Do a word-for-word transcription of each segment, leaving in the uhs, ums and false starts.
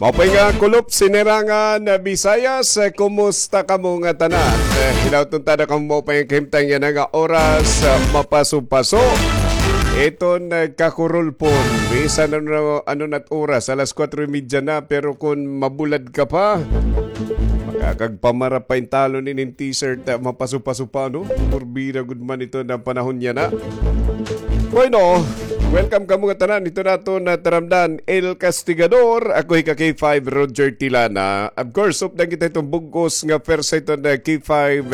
Maupay nga kulop, Sinirangan Visayas, kumusta kamo ngatanan? Eh, hinaut unta na kamo maupay nga kahimtang yana nga oras, ah, mapaso-paso. Iton, eh, kakurulpon. Bisan ano, ano na't oras, alas kwatro y medya na, pero kon mabulad ka pa, makakagpamara pa intawon inin t-shirt, ah, mapaso-paso pa, no? Purbida gud man iton panahon yana. Bueno, welcome kamo ngatanan. Ito naton taramdan, El Castigador. Ako hi ka K five, Roger Tilana. Of course, updan kita hiton bug-os nga pwersa hiton K five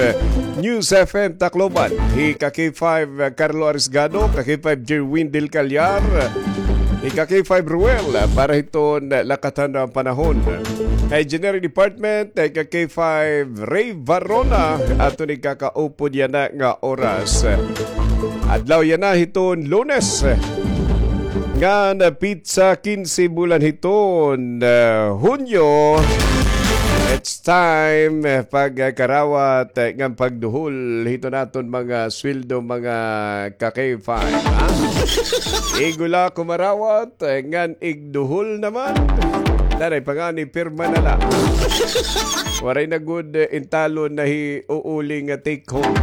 News F M Tacloban. Hi ka K five Carlo Arisgado, ka K five Jerwin Del Callar. Hi ka K five Ruel, para hiton lakatan nga panahon. Hi Engineering Department, hi ka K five Ray Varona, aton ikakaupod yana nga oras. Adlaw yana hiton Lunes. Ngan petsa kinse bulan hiton, ah, Hunyo. It's time, eh, pagkarawat, eh, ngan pagduhol hiton aton mga sweldo, mga ka-K five, ha? Igo la kumarawat, eh, ngan igduhol naman. Nanay pa ngani, pirma na la. Waray na gud, eh, intalon na hiuuli nga take home.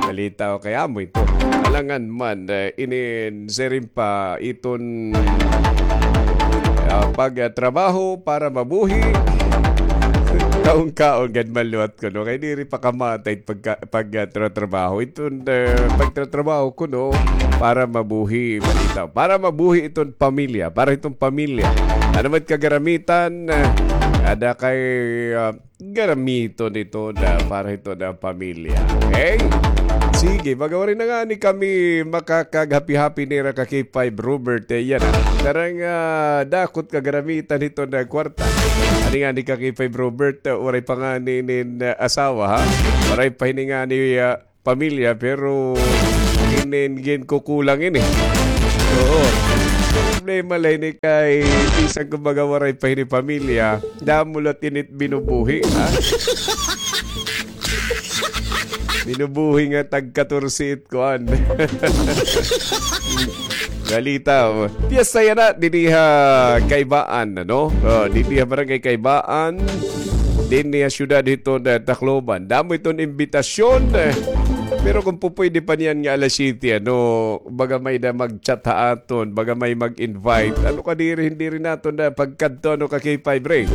Balita o kay amo ito. Alangan man, eh, inin siring pa iton, ah, pagtrabaho para mabuhi. Kaon-kaon gad man liwat kuno. Kay diri pa kamatay pagka-, pag, ah, tratrabaho. Iton, eh, pagtratrabaho kuno para mabuhi, balita. Para mabuhi iton pamilya. Para iton pamilya. Ano man kagaramitan, eh, ada kay, ah, garamiton ito na para ito na pamilya. Okay? Sige, baga waray na ngani kami makakaghapi-hapi nira ka K five Robert, eh, yana. Tarang, ah, dako it kagaramitan ito na kwarta. Ano ngani ka K five Robert, ah, waray pa ngani inin, ah, asawa, ha? Waray pa ini ngani, ah, pamilya, pero inin ginkukulang ini. Oo. Problema la ini kay bisan kumbaga waray pa ini pamilya, damo la it ini binubuhi, ha? Binubuhi nga tag-katorse it kuan. Balita, oh. Piyesta yana dinhi ha Kaybaan, ano? Oh, dinhi ha Barangay Kaybaan, dinhi ha siyudad hiton, eh, Tacloban. Damo iton imbitasyon, eh. Pero kon pupuyde pa niyan nga alas siyete, ano, baga may-ada mag-chat ha aton, baga may mag-invite. Ano ka diri, diri naton na pagkadto, ano ka K five Ray?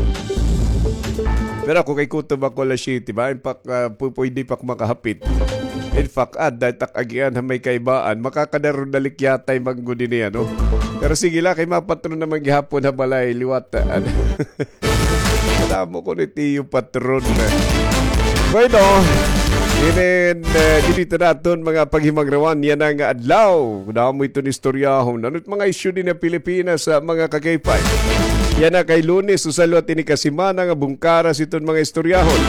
Pero ako kay kutob ako alas siyete ba? In fact, ah, pu-, puyde pa ak makahapit. In fact, adda it ak agian ha may Kaybaan, makakadaro na likyatay man gud ini, ano? Pero sige la, kay mapatron naman gihapon ha balay liwat, ah, ano? Damo kuno it iyo patron. Bueno, inin, eh, dinhi ta naton mga paghimangrawan yana nga adlaw. Damo iton istoryahon. Ano it mga isyu dinhi ha Pilipinas, ah, mga ka-K five? Yana kay Lunes, usa liwat ini ka semana nga bungkaras iton mga istoryahon.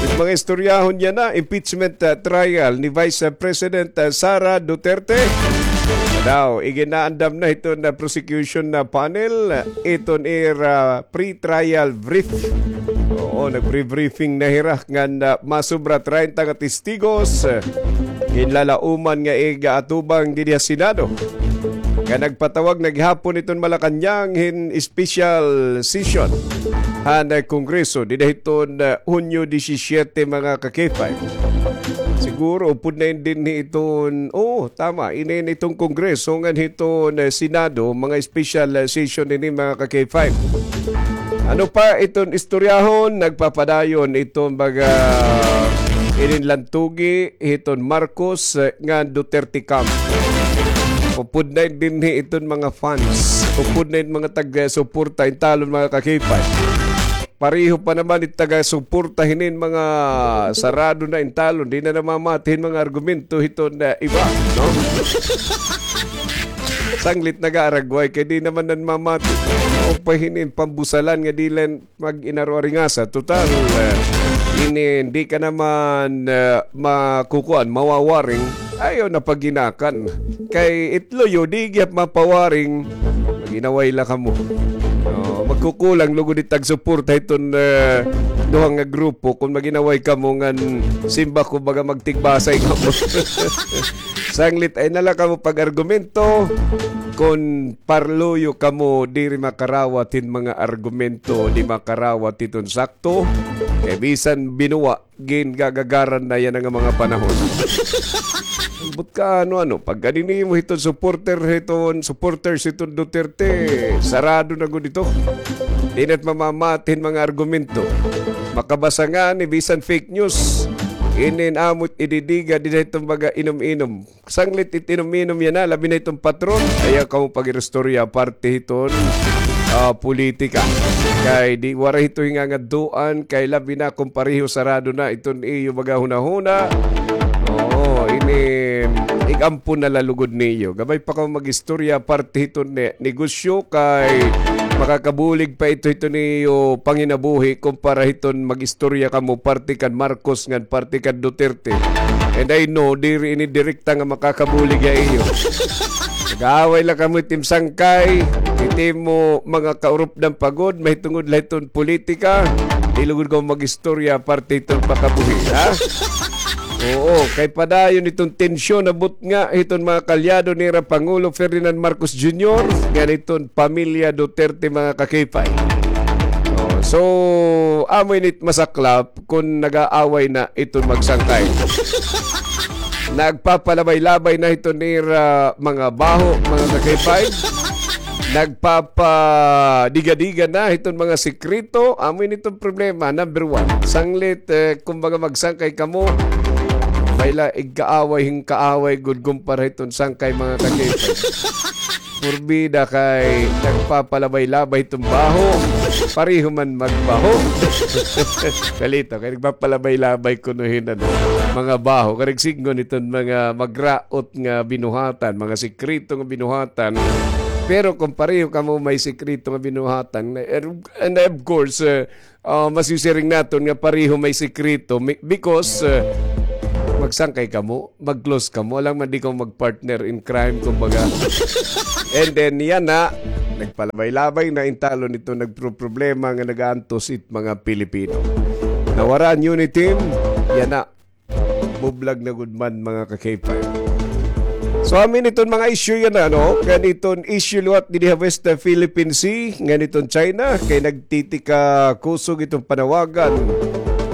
It mga istoryahon yana, impeachment, ah, trial ni Vice, ah, President, ah, Sara Duterte. Daw, iginaandam na hiton, ah, prosecution, ah, panel, ah, iton ira pre-trial brief. Oo, nag-pre-briefing na hira ngan, ah, masubra treinta nga testigos, ah, ginlalauman nga igaatubang dinhi ha Senado. Nga nagpatawag na gihapon iton Malacañang hin special session han, ah, Kongreso dinhi hiton, ah, Hunyo disisyete, mga ka-K five. Siguro, upod na ini dinhi iton, oo, tama, inin iton Kongreso ngan hiton, eh, Senado, mga special, eh, session ini, mga ka-K five. Ano pa iton istoryahon? Nagpapadayon iton mga inin lantugi hiton Marcos, eh, ngan Duterte camp. Upod na ini dinhi iton mga fans. Upod na ini mga tag-, eh, suporta intalon, mga ka-K five. Pareho pa naman it taga-suporta hinin mga sarado na intalon, di na namamati hin mga argumento hiton iba, no? Sanglit nag-aaragway kay di naman namamati. O pa hinin pambusalan nga di la mag-inaro-aringasa. Total, eh, ini, di ka naman, eh, makukuan, mawawaring. Ayaw na paghinakan. Kay it luyo, di gihap mapawaring. Mag-inaway la kamo. Oh, magkukulang lugod it tagsuporta hiton, eh, duha nga grupo kon mag-inaway kamo ngan simba ko baga magtigbasay kamo. Sanglit ay na la kamo pag-argumento. kon parluyo kamo, diri makarawat hin mga argumento, di makarawat hiton sakto. Kay bisan binuwa, gingagagaran na yana nga mga panahon. Ambot ka, ano-ano, pagkadi nimo hiton supporter, hiton supporters hiton Duterte, sarado na gud ito. Di na't mamamati hin mga argumento. Makabasa ngani bisan fake news. Inin amo't ididiga dinhi hiton mga inom-inom. Sanglit it inom-inom yana, labi na hiton patron. Ayaw kamo pag-iristorya parte hiton, ah, politika. Kay di waray hito hingangadtuan, kay labi na kon pareho sarado na iton iyo mga hunahuna. Oo, ini ig-ampo na la lugod niyo. Gamay pa kamo mag-istorya parte hiton ne-, negosyo, kay makakabulig pa ito hiton iyo panginabuhi kumpara hiton mag-istorya kamo parte kan Marcos ngan parte kan Duterte. And I know, diri ini direkta nga makakabulig ha iyo. Nag-aaway la kamo it im sangkay, it imo mga kaurupdan pa gud, mahitungod la hiton politika, di lugod kamo mag-istorya parte hiton pakabuhi, ha? Oo, kay padayon iton tensyon, abot nga hiton mga kaalyado nira Pangulo Ferdinand Marcos Junior, ngan hiton pamilya Duterte, mga ka-K five. Oh, so, amo ini it masaklap kon nag-aaway na iton magsangkay. Nagpapalabay-labay na hiton nira mga baho, mga ka-K five. Nagpapadiga-diga na hiton mga sikreto. Amo ini iton problema, number one. Sanglit, eh, kumbaga magsangkay kamo, may la igkaaway, hin kaaway gud kumpara hiton sangkay, mga ka-K five. Purbida kay nagpapalabay-labay iton baho. Pareho man magbaho. Kalito, kay nagpapalabay-labay kuno hin, ano, mga baho. Karigsignon iton mga magraot nga binuhatan, mga sikreto nga binuhatan. Pero kung pareho kamo may sikreto nga binuhatan, and, and of course, eh, ah, masisiring naton nga pareho may sikreto mi-, because, eh, magsangkay kamo, mag-close kamo, alangan man di kamo mag-partner in crime, kumbaga. And then, yana, nagpalabay-labay na, intalon ito nagproproblema nga nagaantos it mga Pilipino. Nawara an unity, yana, bublag na gud man, mga ka-K five. So, amin iton mga issue yana, no? Kay iton issue liwat dinhi ha West Philippine Sea, ngan iton China, kay nagtitikakusog iton panawagan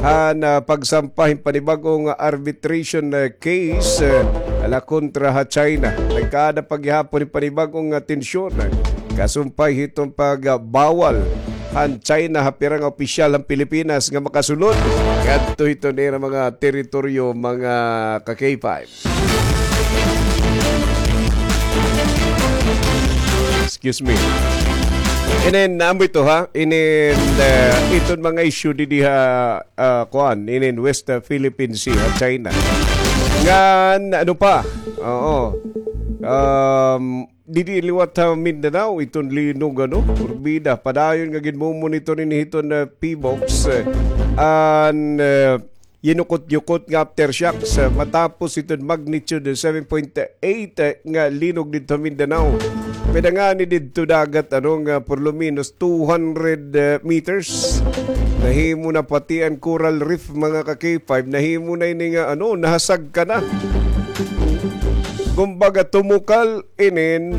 han, ah, pagsampa hin panibag-o nga arbitration, ah, case, ah, ala kontra ha China. Nagkaada pa gihapon hin panibag-o nga tensyon, ah, kasumpay hiton pagbawal han China ha pira nga opisyal han Pilipinas nga makasulod ngadto hiton ira mga teritoryo, mga ka-K five. Excuse me. Inin, amo ito, ha? Inin, uh, iton mga issue didi ha, uh, kuan, inin West, uh, Philippine Sea, ha, China. Ngan, ano pa? Oo. Um, didi liwat ha Mindanao, iton linog, ano, purbida. Padayon nga ginmumonitor ini hiton, uh, PHIVOLCS, uh, an, uh, yinukot-yukot nga aftershocks, uh, matapos iton magnitude seven point eight, uh, nga linog didto ha Mindanao. Pwede ngani didto dagat, ano, nga por lo menos two hundred, uh, meters. Nahimo na pati an coral reef, mga ka-K five. Nahimo na ini nga, ano, nahasagka na. Kumbaga, tumukal inin,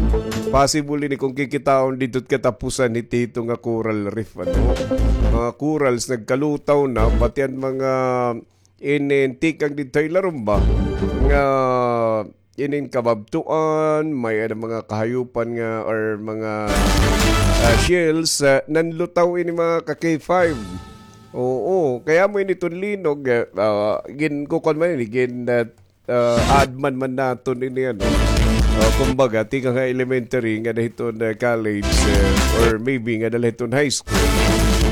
possible ini kon kikitaon didto it katapusan hit hito nga coral reef, ano. Mga corals nagkalutaw na, pati an mga inin tikang didto ha ilarom ba nga inin kababtuan, may-ada mga kahayupan nga or mga, ah, shells, ah, nanlutaw ini, mga ka-K five. Oo, kay amo ini iton linog, ah, ah, ginkukuan man ini, gin, ah, ah, aadman man naton ini, ano. Ah, kumbaga, tikang ha elementary ngada hiton, ah, college, eh, or maybe ngada la hiton high school.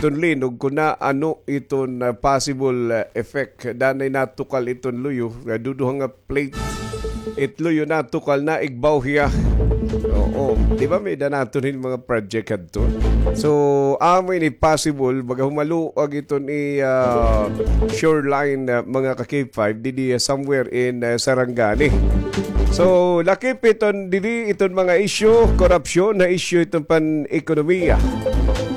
Iton linog, kon naano iton, ah, possible, ah, effect, danay natukal iton luyo, nga duduha nga plate. It luyo natukal na, igbaw hiya. Oo. Di ba may-ada naton hin mga project hadto? So, amo ini possible, baga humaluag iton i, ah, shoreline, ah, mga ka-K five, didi, ah, somewhere in, ah, Sarangani. So, lakip iton didi, iton mga isyu, korupsyon na isyu iton pan-ekonomiya.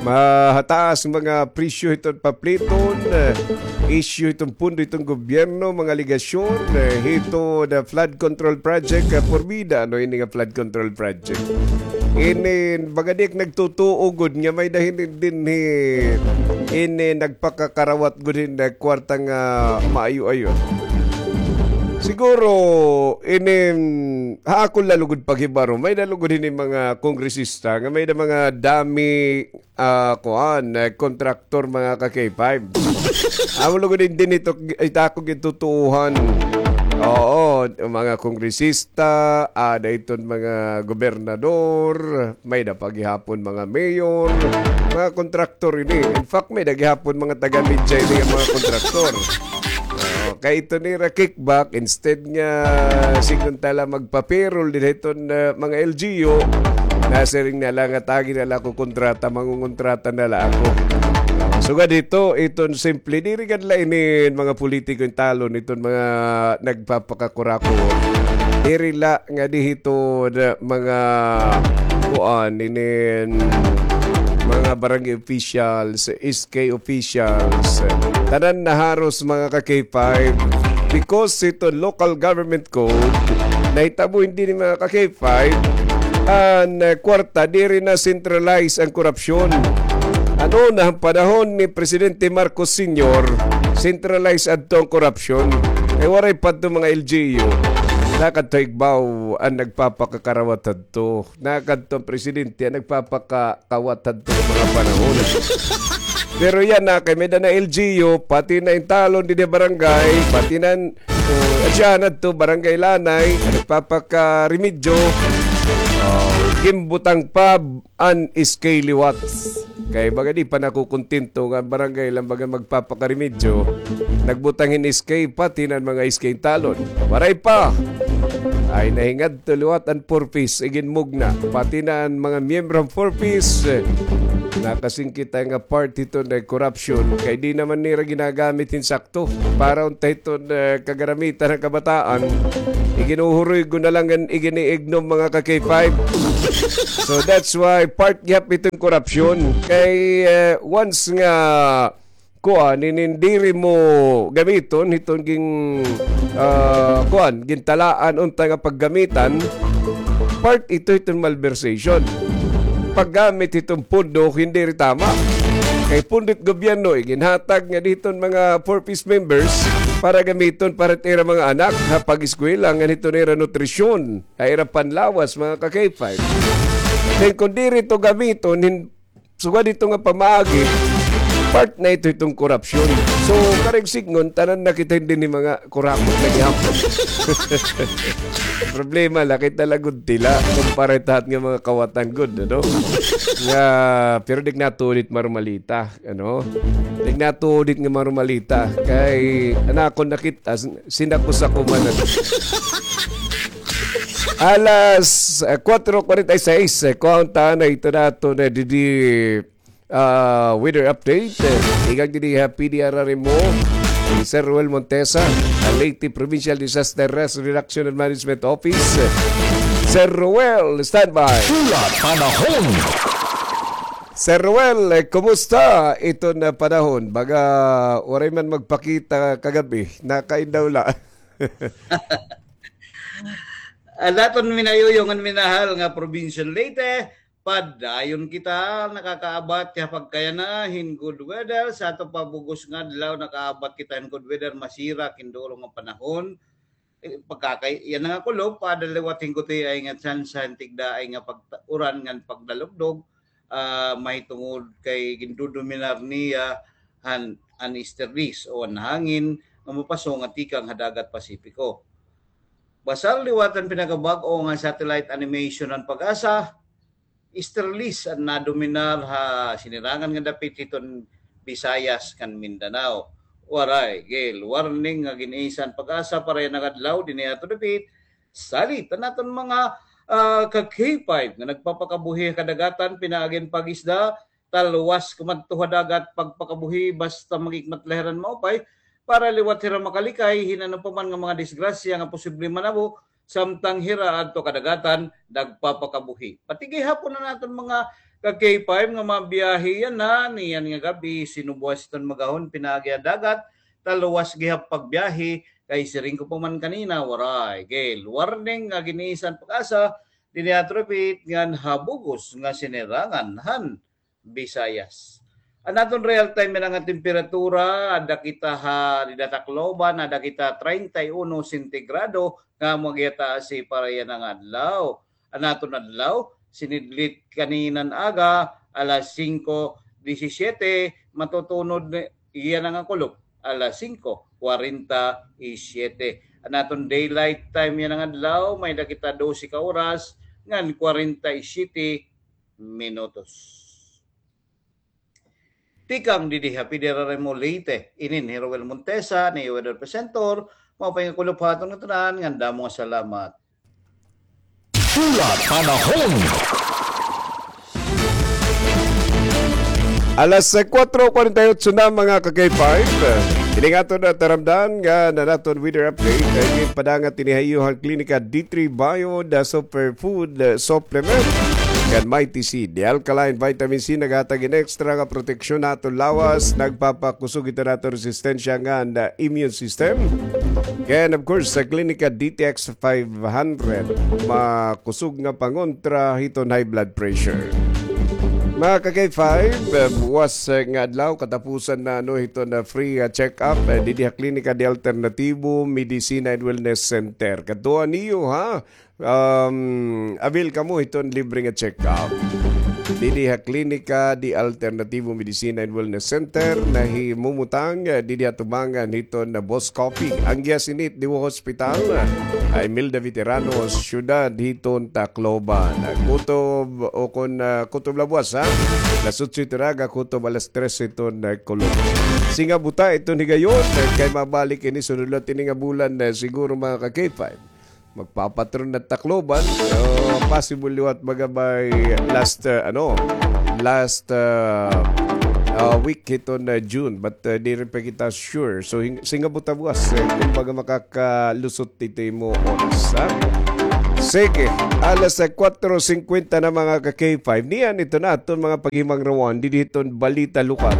Mahataas mga presyo iton papliton, eh, isyu iton pundo iton gobyerno, mga aligasyon, eh, hito the flood control project, eh, porbida, ano ini nga flood control project? Ini, baga di ak nagtutuo gud nga may-ada hini dinhi, ini nagpakakarawat gud hin kwarta nga maayo-ayo. Siguro, ini, ha akon la lugod paghibaro, may-ada lugod hini mga kongresista nga may-ada mga dami, ah, kuan, eh, kontraktor, mga ka-K five. Amo lugod dinhi ito, ita ko gitutuohan. Oo, mga kongresista, ada iton mga gobernador, may-ada pa gihapon mga mayor, mga kontraktor ini. In fact, may-ada gihapon mga taga-media ini nga mga kontraktor. Oo, kay ito nira kickback, instead nga sigon ta la magpa-payroll dinhi iton, ah, mga L G U, nasiring na la nga tagi na la ako kontrata, mangungontrata na la ako. Sugad hito, iton simple, diri gad la inin mga politiko in talon, iton mga nagpapakakurakot. Diri la nga di hito na mga kuan, inin mga barangay officials, S K officials, tanan na haros, mga ka-K five, because ito local government code, nahitabo ini, mga ka-K five, an, eh, kwarta, diri na centralize an korupsyon. Ano na, han panahon ni Presidente Marcos Senior, centralize adto an korupsyon. Kay waray pa adto mga L G U. Nakadto igbaw an nagpapakakarawat hadto. Nakadto an presidente an nagpapakakawat hadto mga panahon. Pero yana, kay may-ada na L G U, pati na in talon dinhi barangay, pati na, uh, asya na to, barangay Lanay, an nagpapakarimedyo, uh, ginbutang pa an S K liwat. Kay baga di pa nakukontento nga barangay la baga magpapakarimedyo. Nagbutang hin S K, pati na an mga S K talon. Waray pa. Ay, nahingadto liwat an Four Ps, iginmugna. Pati na an mga miyembro han Four Ps, eh, nakasingkit nga part hito na korupsyon. Kay di naman nira ginagamit hin sakto. Para unta hiton, eh, kagaramitan han kabataan, iginuhuroy ko na la ngan igini-ignore, mga ka-K five. So that's why part gihap iton korupsyon. Kay, eh, once nga kuan, inin diri mo gamiton hiton gin, ah, kuan, gintalaan unta nga paggamitan, part ito hiton malversation. Paggamit hiton pondo, hindi rin tama. Kay pondo it gobyerno, iginhatag nga diton mga Four Ps members para gamiton para it ira mga anak ha pag-eskwela, ngan hiton ira nutrisyon, ha ira panlawas, mga ka-K five. Then kung diri to gamiton, hin-, sugad ito nga pamaagi, part na ito itong korupsyon. So, karigsignon, tanan na kita hindi ni mga kurakot na gihapon. Problema la, kita la gud tila, kumpara tahat nga mga kawatan gud, ano? Nga, pero di ak natuod it marumalita, ano? Di ak natuod it nga marumalita. Kay, an akon nakita, sin-, sinako-sako man, ano? Alas, eh, kuwatro kuwarenta y seis, eh, kuhaon ta na ito naton, eh, didi, ah, weather update. Eh, tikang didi ha P D R R M O, ni Sir Roel Montesa, an Leyte Provincial Disaster Risk Reduction and Management Office. Sir Roel, standby. Pula Panahon. Sir Roel, eh, kumusta iton panahon? Baga waray man magpakita kagab-i, nakaindaw la. An aton minayuyo ngan minahal nga Provincial Leyte, padayon kita nakakaabat ha pagkayana hin good weather. Sa aton pa bug-os nga adlaw, nakaabat kita hin good weather, masirak hin duro nga panahon. Eh, pagkakay-, yana nga kulob, pada liwat hin gutiay nga tsansa hin tigdaay nga pagta-, uran ngan pagdalugdog, ah, mahitungod kay gindodominar niya han, an easterlies o an hangin nga mopaso nga tikang ha dagat Pasipiko. Basta liwat an pinakabag-o nga satellite animation han PAGASA, easterlies an nadominar ha sinirangan nga dapit hiton Visayas ngan Mindanao. Waray gale warning nga gin-isa han PAGASA para yana nga adlaw dinhi ha aton dapit. Salit an aton mga, ah, ka-K five nga nagpapakabuhi ha kadagatan pinaagi hin pag-isda, talwas kumadto ha dagat pagpakabuhi basta magikmat la hira hin maupay para liwat hira makalikay hin ano pa man nga mga disgrasya nga posible manabo samtang hira adto kadagatan nagpapakabuhi. Pati gihapon an aton mga ka-K five nga mabiyahe yana, niyan nga gab-i, sinubuas iton magahon pinaagi ha dagat, taluwas gihap pagbiyahe, kay siring ko pa man kanina, waray gil warning nga ginisan PAGASA, dinhi ha Tripit ngan ha bug-os nga sinirangan han Visayas. An aton real time yana nga temperatura, ada kita ha dida Tacloban, ada kita treinta y uno sentigrado, nga amo gihataas para yana nga adlaw. An aton adlaw, sinidlit kaninan aga, alas singko disisiete, matutunod yana nga kulop, alas singko kwarenta y siyete. An aton daylight time yana nga adlaw, may-ada kita dose ka oras ngan kwarenta y siyete minutos. Tikang didi ha Federal Remo Leyte, inin hi Roel Montesa, an iyo weather presenter, maupay nga kulop ha aton ngatanan, ngan damo nga salamat. Pula Panahon. Alas, eh, kuwatro kwarenta y otso na, mga ka-K five. Ini nga aton, ah, taramdan nga an aton weather update ay ginpadangat ini ha iyo han Klinika D three Bio, the Superfood, eh, Supplement. Kan Mighty Seed, the alkaline vitamin C, naghatag hin extra nga proteksyon ha aton lawas, nagpapakusog hiton aton resistensya ngan, ah, immune system. Kay, of course, sa Klinika D T X five hundred, makusog nga pangontra hiton high blood pressure. Mga ka-K five, eh, buwas, eh, nga adlaw, katapusan na, ano, hiton, ah, free, ah, check-up, eh, didi ha Klinika de Alternativo Medicina and Wellness Center. Kadtuan niyo, ha? Um, avail kamo hiton libre nga check-up. Didi ha Klinika de Alternativo Medicina and Wellness Center, nahimumutang, eh, didi ha tubangan hiton, ah, Boss Coffee. An giya sini it Diwa Hospital, ah, ha Imelda Veterano, siyudad hiton Tacloban. Ah, kutob, o kon, ah, kutob labuwas, ha? Alas otso hiton aga, kutob alas tres hiton, ah, kulop. Singa buta iton higayon, eh, kay mabalik ini sunod liwat ini nga bulan, eh, siguro, mga ka-K five. Magpapatron na Tacloban. So, possible liwat baga by last, uh, ano, last, uh, uh, week hiton, uh, June. But, uh, diri pa kita sure. So, hing-, singa buta buwas, eh, kon baga makakalusot ito imo oras, ha? Sige, alas, uh, kuwatro singkwenta na, mga ka-K five. Niyan ito na aton mga paghimangrawan didi hiton balita lokal.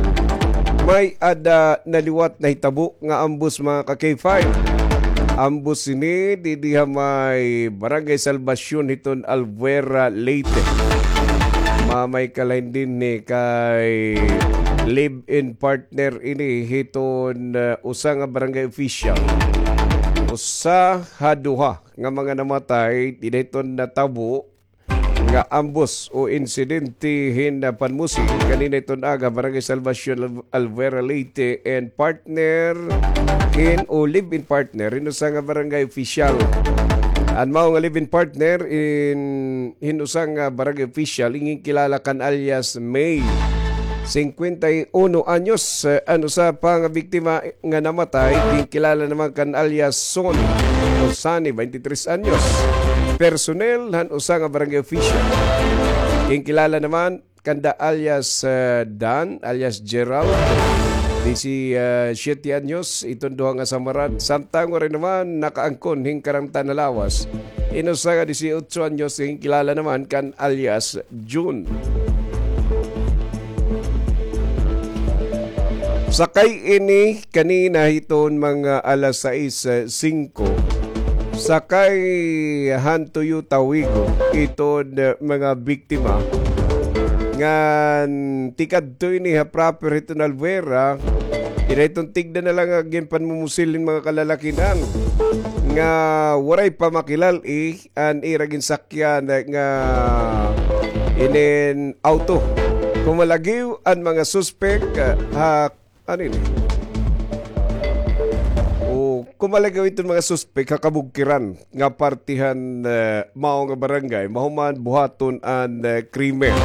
May-ada na liwat nahitabo nga ambos, mga ka-K five. Ambos ini didi ha may Barangay Salvacion hiton Albuera, Leyte. Mamay kalain dinhi kay live-in partner ini hiton, uh, usa nga barangay official. Usa ha duha nga mga namatay didi hiton natabo nga ambos o insidente hin, ah, panmusi kanina hiton aga, Barangay Salvacion, Al-, Albuera, Leyte, and partner hin o live-in partner hin usa nga barangay official. An mao nga live-in partner in, hin usa nga barangay official, ginkilala kan alias May, singkwenta y uno anyos, eh, an usa pa nga biktima nga namatay, ginkilala naman kan alias Son o Sonny, twenty-three anyos. Personnel han usa nga barangay official. Ginkilala naman kanda alias, eh, Dan, alias Gerald, disisyete anyos, iton duha nga samaran. Samtang waray naman nakaangkon hin karangtan ha lawas in usa nga disiotso anyos, ginkilala naman kan alias June. Sakay ini kanina hiton mga alas sais, eh, singko. Sakay han Toyota Wigo iton, eh, mga biktima. Ngan tikadto ini ha proper hiton Albuera. Dida iton tigda na la nga ginpanmumusil hin mga kalalakinan nga waray pa makilal-i an ira ginsakyan nga inin auto. Kumalagiw an mga suspek, ah, ha, ano ini? O, kumalagiw iton mga suspek ha kabugkiran nga parte han, eh, mao nga barangay, mahuman buhaton an, eh, krimen.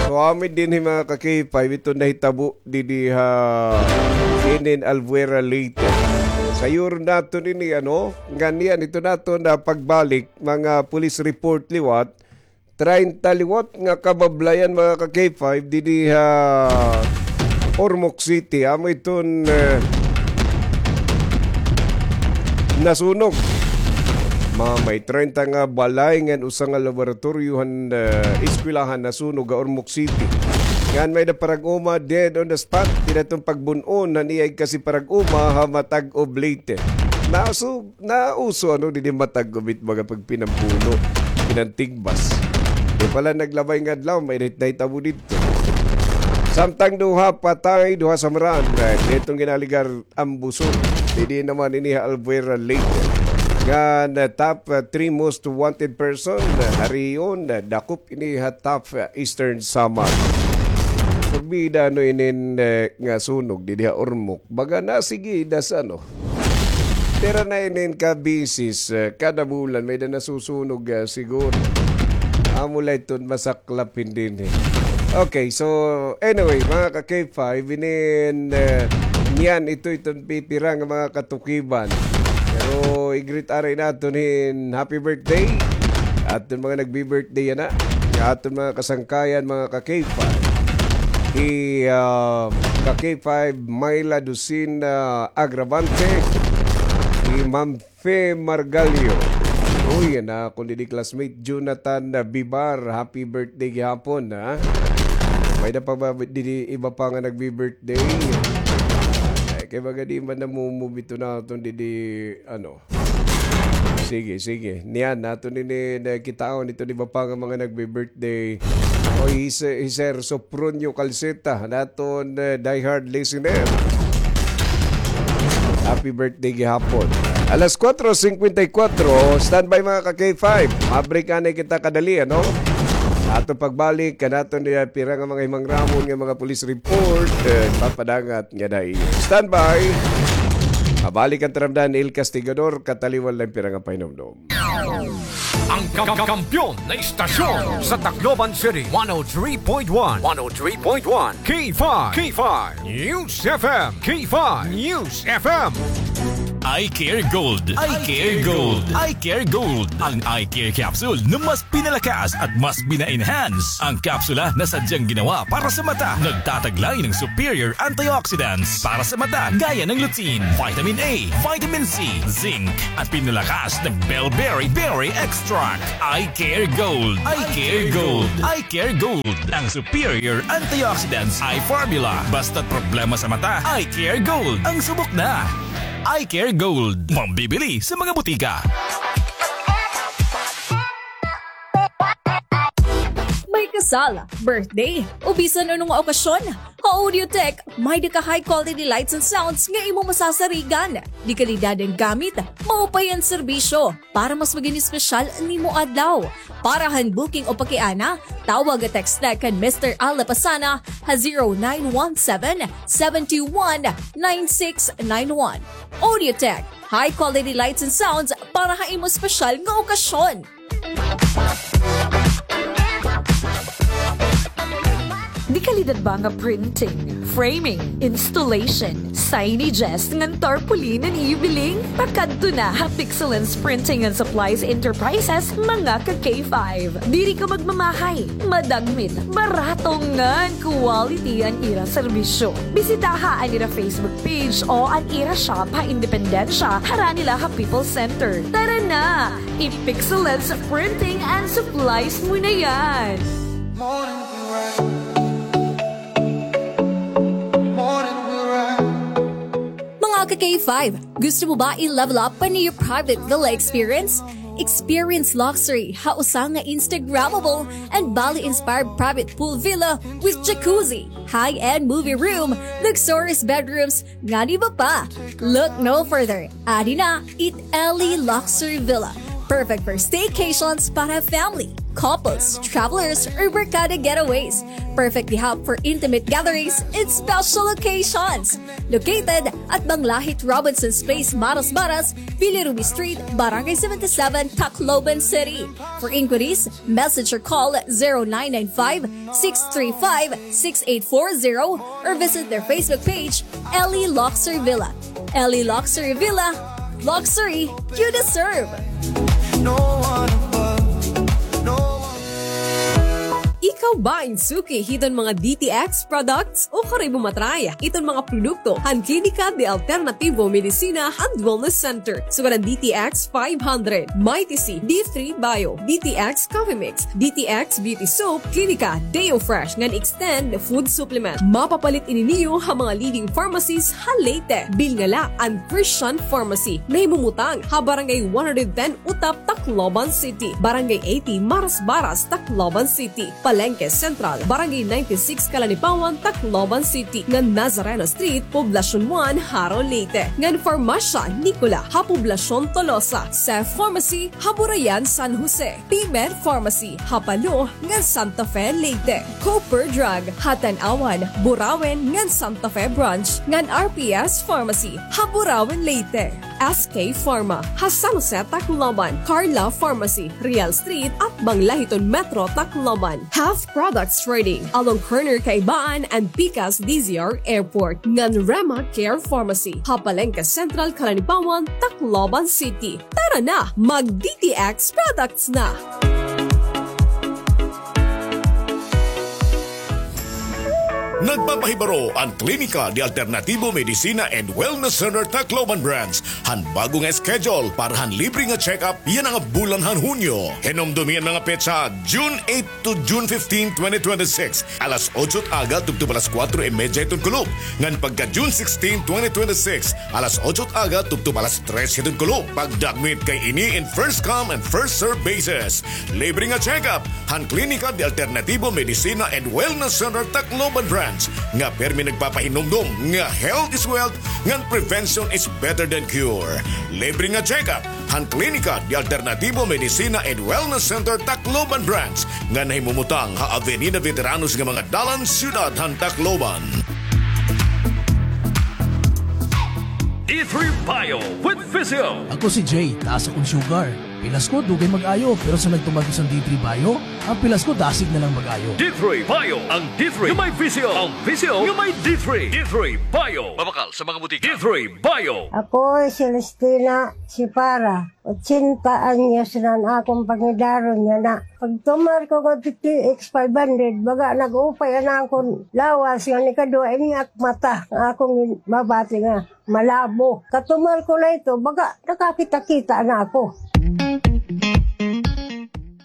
So, amin dinhi, mga ka-K five, iton nahitabo didi ha inin Albuera, Leyte. Sayuron naton ini, ano, ngan niyan iton aton pagbalik, mga police report liwat, treinta liwat nga kabablayan, mga ka-K five, didi ha Ormoc City. Amo iton, eh, nasunog. May treinta nga balay ngan usa nga laboratoryo han, ah, eskwelahan nasunog ha Ormoc City. Ngan may-ada parag-uma dead on the spot. Dida iton pagbun-on han iyay kasi parag-uma ha Matagob, Leyte. Nauso, nauso ano didi Matagob it mga pagpinambuno, pinantigbas. Di pala naglabay nga adlaw, may nahitabo didto. Samtang duha patay, duha samran. Didto nga ginaligar Ambuson. Didi naman ini ha Albuera Lake. Ngan, ah, top, ah, three most wanted person, ah, ha rehiyon, ah, dakop ini ha top, ah, Eastern Samar. Pagbida ano inin, eh, nga sunog didi ha Ormoc. Baga na sige das ano. Pira na inin ka beses, eh, kada bulan may-ada nasusunog, eh, siguro. Amo la iton masaklap hini, eh. Okay, so anyway, mga ka K five, inin, eh, niyan ito iton pipira nga mga katukiban. Pero i-greet ari naton hin happy birthday. Aton mga nagbi-birthday yana. Aton mga kasangkayan, mga ka K five. Hi, ah, ka K five, Myla Dusina Agravante. Hi Ma'am Fe Margalio. Uy, yana, akon didi classmate, Jonathan Bibar. Happy birthday gihapon, ha? May-ada pa ba didi iba pa nga nagbi-birthday? Ay, kay baga di man namumubito naton didi, ano, Sige, sige. Niyan, naton ini nakitaon iton iba pa nga mga nagbi-birthday. Oy, hi Sir, hi Sir Sopronio Calceta, naton, eh, diehard listener. Happy birthday gihapon. Alas kuwatro singkwenta y kuwatro, standby mga ka K five. Ma-break anay kita kadali, ano? Aton pagbalik, kanaton niya pira nga mga himangramon nga mga police report, eh, papadangat nga dai. Standby. Mabalik an taramdan, El Castigador, kataliwan la an pira nga pahinumdom. Ang ka-, ka-, kampiyon na istasyon sa Tacloban City, one oh three point one, one oh three point one, K five, K five News F M, K five News F M. Eye Care Gold, Eye Care Gold, Eye Care Gold. Ang Eye Care Capsule na mas pinalakas at mas bina-enhance. Ang kapsula na sadyang ginawa para sa mata, nagtataglay ng superior antioxidants para sa mata, gaya ng lutein, vitamin A, vitamin C, zinc, at pinalakas ng bellberry berry extract. Eye Care Gold, Eye Care Gold, Eye Care Gold. Ang superior antioxidants eye formula. Basta't problema sa mata, Eye Care Gold ang subok na. Eye Care Gold. Mabibili sa mga butika. May kasal, birthday, o bisan ano nga okasyon, ha Audiotech, may-ada ka high quality lights and sounds nga imo masasarigan. De kalidad an gamit, maupay an serbisyo. Para mas maging espesyal an imo adlaw. Para han booking o pakiana, tawag o text na kan Mister Al Lapasana ha zero nine one seven, seven two one, nine six nine one. Audiotech, high quality lights and sounds para ha imo espesyal nga okasyon. Di kalidad ba nga printing, framing, installation, signages, ngan tarpaulin an iyo biling? Pakadto na ha Pixelens Printing and Supplies Enterprises, mga ka K five. Diri ka magmamahay, madagmit, barato ngan quality an ira serbisyo. Bisitaha an ira Facebook page o an ira shop ha Independencia, harani la ha People's Center. Tara na! I-Pixelens Printing and Supplies mo na yan! Mga ka K five, gusto mo ba i-level up an iyo private villa experience? Experience luxury ha usa nga Instagrammable and Bali-inspired private pool villa with jacuzzi, high-end movie room, luxurious bedrooms, ngan iba pa. Look no further. Adi na it Ellie Luxury Villa. Perfect for staycations para family, couples, travelers, or barkada getaways. Perfect gihap for intimate gatherings and special occasions. Located at Banglahit Robinson's Place, Marasmaras, Billy Ruby Street, Barangay seventy-seven, Tacloban City. For inquiries, message or call zero nine nine five, six three five, six eight four zero or visit their Facebook page, Ellie Luxury Villa. Ellie Luxury Villa, luxury you deserve. No one above, no one. Ikaw Ikaw ba in suki hiton mga D T X products? Ukon kay imo matry iton mga produkto han Klinika de Alternativo Medicina and Wellness Center. Sugad han D T X five hundred, Mighty C, D three Bio, D T X Coffee Mix, D T X Beauty Soap, Klinika Deo Fresh ngan Extend Food Supplement. Mapapalit ini niyo ha mga leading pharmacies ha Leyte. Bilngala an Christian Pharmacy, nahimumutang ha Barangay one hundred ten Utap, Tacloban City, Barangay eighty Marasbaras, Tacloban City, Palengke Central, Barangay ninety-six Calanipaon, Tacloban City, ngan Nazareno Street, Poblacion one, Jaro, Leyte, ngan Farmacia Nicola ha Poblacion Tolosa, Cef Pharmacy ha Burayan, San Jose, P-Med Pharmacy ha Palo ngan Santa Fe, Leyte, Cooper Drug ha Tanauan, Burauen ngan Santa Fe Branch, ngan R P S Pharmacy ha Burauen, Leyte. S K Pharma ha San Jose, Tacloban, Carla Pharmacy, Real Street, atbang la hiton Metro Tacloban. Health Products Trading, along corner Kaibaan and Pikas D Z R Airport, ngan Rema Care Pharmacy ha Palengke Central, Calanipaon, Tacloban City. Tara na, mag D T X products na! Nagpapahibaro an Klinika de Alternativo Medicina and Wellness Center Tacloban Branch han bago nga schedule para han libre nga check-up yana nga bulan han Hunyo. Hinumdomi an mga petsa, June eight to June fifteen, twenty twenty-six, alas otso it aga tubtob alas kuwatro y medya hiton kulop, ngan pagka June sixteen, twenty twenty-six, alas otso it aga tubtob alas tres hiton kulop. Pagdakmit kay ini in first come and first serve basis. Libre nga check-up han Klinika de Alternativo Medicina and Wellness Center Tacloban Branch nga pirmi nagpapahinumdom nga health is wealth ngan prevention is better than cure. Libre nga check-up han Klinika de Alternativo Medicina and Wellness Center Tacloban Branch nga nahimumutang ha Avenida Veteranos nga mga dalan, siyudad han Tacloban. D three Bio with Physio. Ako si Jay, taas akon sugar. Pilas ko, dugay mag-ayo, pero sa nagtuman ko sa D three Bio, ang pilas ko, dasig na lang mag-ayo. D three Bio, ang D three nga may Physio, ang Physio nga may D three. D three Bio. Mabakal sa mga butika. D three Bio. Ako si Celestina Sipara, ochenta anyos na an akon pangidaron yana. Pagtumar ko nga D T X five hundred, baga nag-upay an akon lawas, nga nikaduha ini ak mata, nga akon mabati nga malabo. Katumar ko na ito, baga nakakita-kita na ako.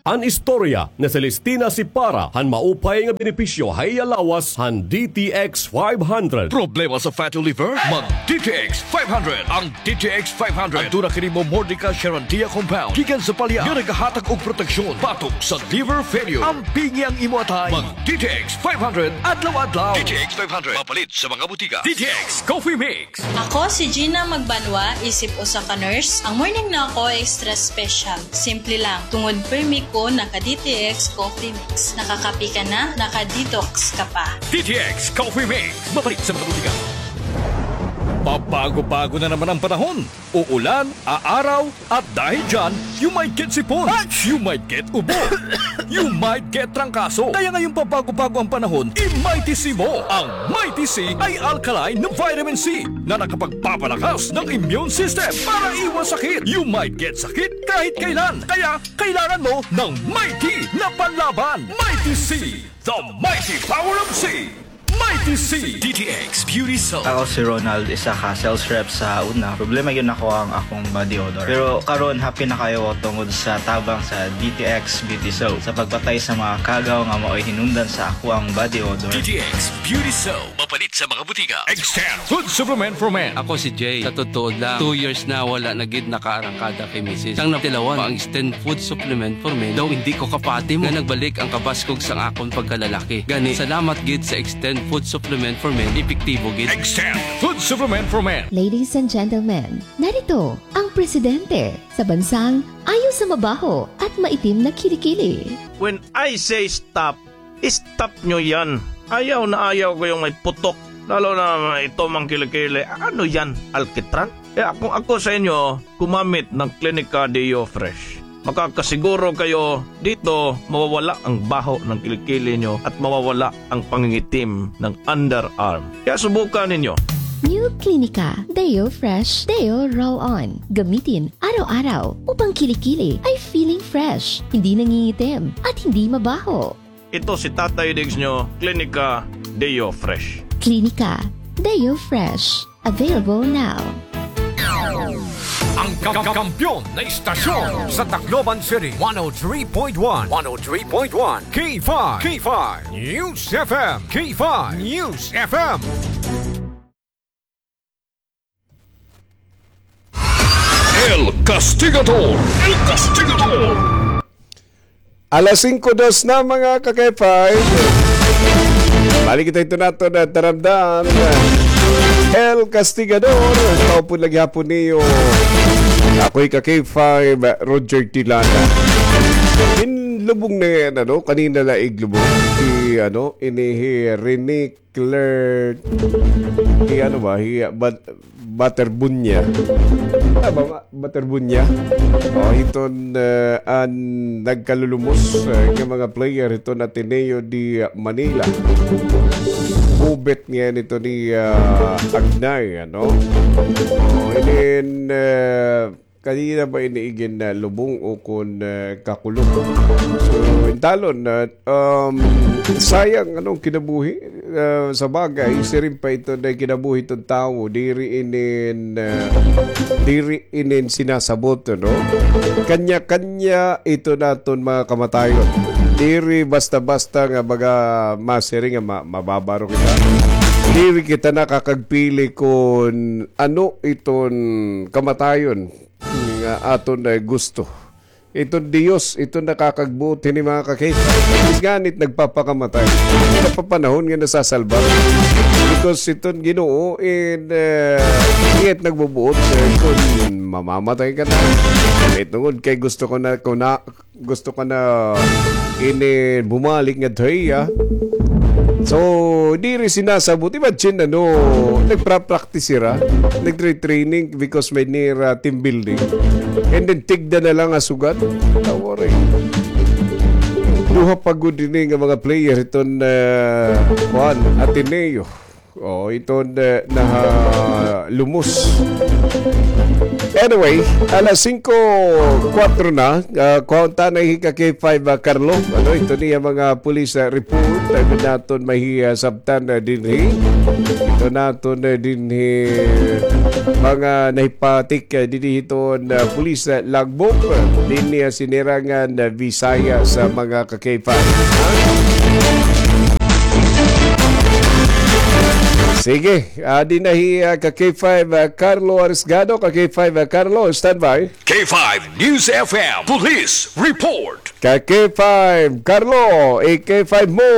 An istorya ni Celestina Sipara han maupay nga benepisyo ha iya lawas han D T X five hundred. Problema sa fatty liver? Mag D T X five hundred. Ang D T X five hundred aduna kini momordica charantia compound gikan sa palya nga nagahatag og proteksyon batok sa liver failure. Ampingi ang imo atay. Mag D T X five hundred adlaw-adlaw. D T X five hundred, mapalit sa mga butika. D T X Coffee Mix. Ako si Gina Magbanwa, isip usa ka nurse. Ang morning na ako extra special. Simple lang, tungod pirmi ko naka D T X Coffee Mix. Nakakape ka na, naka-detox ka pa. D T X Coffee Mix, mapalit sa mga butika. Pabago-bago na naman ang panahon. Uulan, aaraw, at dahil dyan, you might get sipon, you might get ubo, you might get trangkaso. Kaya ngayong pabago-bago ang panahon, i-Mighty C mo. Ang Mighty C ay alkaline na vitamin C na nakapagpapalakas ng immune system para iwas sakit. You might get sakit kahit kailan. Kaya kailangan mo ng Mighty na panlaban. Mighty C, the mighty power of C. Mighty C. D T X Beauty Soap. Ako si Ronald, isa ka sales rep sa una. Problema gyud nako ang akong body odor. Pero karon, happy na kaayo ko tungod sa tabang sa D T X Beauty Soap. Sa pagpatay sa mga kagaw nga maoy hinungdan sa akoang body odor. D T X Beauty Soap. Mapalit sa mga butika. Extend Food Supplement for Men. Ako si Jay. Sa totoo lang, two years na wala na gid nakaarangkada kay misis. Sang natilawan pa ang Extend Food Supplement for Men, daw hindi ko kapati mo nga nagbalik ang kabaskog sang akon pagkalalaki. Gani, salamat gid sa Extend Food Supplement for Men, epektibo gid. Extend Food Supplement for Men. Ladies and gentlemen, narito ang presidente sa bansang ayaw sa mabaho at maitim na kilikili. When I say stop, stop nyo yan. Ayaw na ayaw ko yung may putok. Lalo na ito mang kilikili. Ano yan? Alkitran? Kaya kung ako sa inyo, gumamit ng Klinika Deo Fresh. Makakasiguro kayo dito mawawala ang baho ng kilikili nyo at mawawala ang pangingitim ng underarm. Kaya subukan ninyo. New Klinika Deo Fresh Deo Roll On. Gamitin araw-araw upang kilikili ay feeling fresh, hindi nangingitim, at hindi mabaho. Ito si Tatay Diggs nyo, Klinika Deo Fresh. Klinika Deo Fresh. Available now. Ang ka-, ka-, kampiyon na istasyon sa Tacloban City, one oh three point one, one oh three point one, K five, K five News F M, K five News F M. El Castigador, El Castigador. Alas singko dos na, mga ka-K five. Balik kita ito nato na taramdan. El Castigador, taupod lagi hapon niyo. Ako'y ka-K five, Roger Tilana. Inlubong na yan, ano? Kanina la iglubong. Si, ano, ini hi Rene Cler-, hi ano ba? Hi, ah, Bat-, Baterbunya. Tama ba? Baterbunya. O, hiton, eh, an nagkalulumos, eh, nga mga player hiton Ateneo de Manila. Bubet nga nito ni, ah, Agnay, ano? O, inin, eh, Kanina ba ini igin, ah, lubong o kon, ah, kakulop? So, intalon na, um, sayang, ano, kinabuhi. Ah, sa bagay, siring pa ito na kinabuhi iton tawo. Diri inin, ah, diri inin sinasabot, no? Kanya-kanya ito naton mga kamatayon. Diri basta-basta nga baga masiring nga ma-, mababaro kita. Diri kita nakakagpili kon ano iton kamatayon nga aton, eh, gusto. Iton Dios, iton nakakagbuot hini, mga ka-K five. Nganit nagpapakamatay. Napapanahon nga nasasalbar. Because iton Ginoo, in, eh, iyat nagbubuot, eh, kon mamamatay ka na. Wait, tungod kay gusto ko na, ko na, gusto ka na ini bumalik ngadto ha iya. So, diri sinasabot. Imagine, ano, nagpra-practice sira, nagtre-training because may near, ah, team building. And then, tigda na lang nga sugad. Tawari. Duha pa gud ini nga mga player iton, ah, kuan, Ateneo. O, iton, eh, nahalumos. Anyway, alas singko kuwatro na, ah, kuha unta na hi ka-K five, ah, Carlo. Ano, ito niya mga police, ah, report. Ay, naton mahi, ah, sabtan, ah, dinhi. Ito naton, ah, dinhi mga nahipatik, ah, dinhi hiton, ah, police, ah, logbook. Dinhi, ah, sinirangan, ah, Visayas sa mga ka-K five. Sige, adi na hi, ah, ka-K five, ah, Carlo Arisgado, ka-K five, ah, Carlo, standby. K five News F M Police Report. Ka-K five, Carlo, i-K five mo.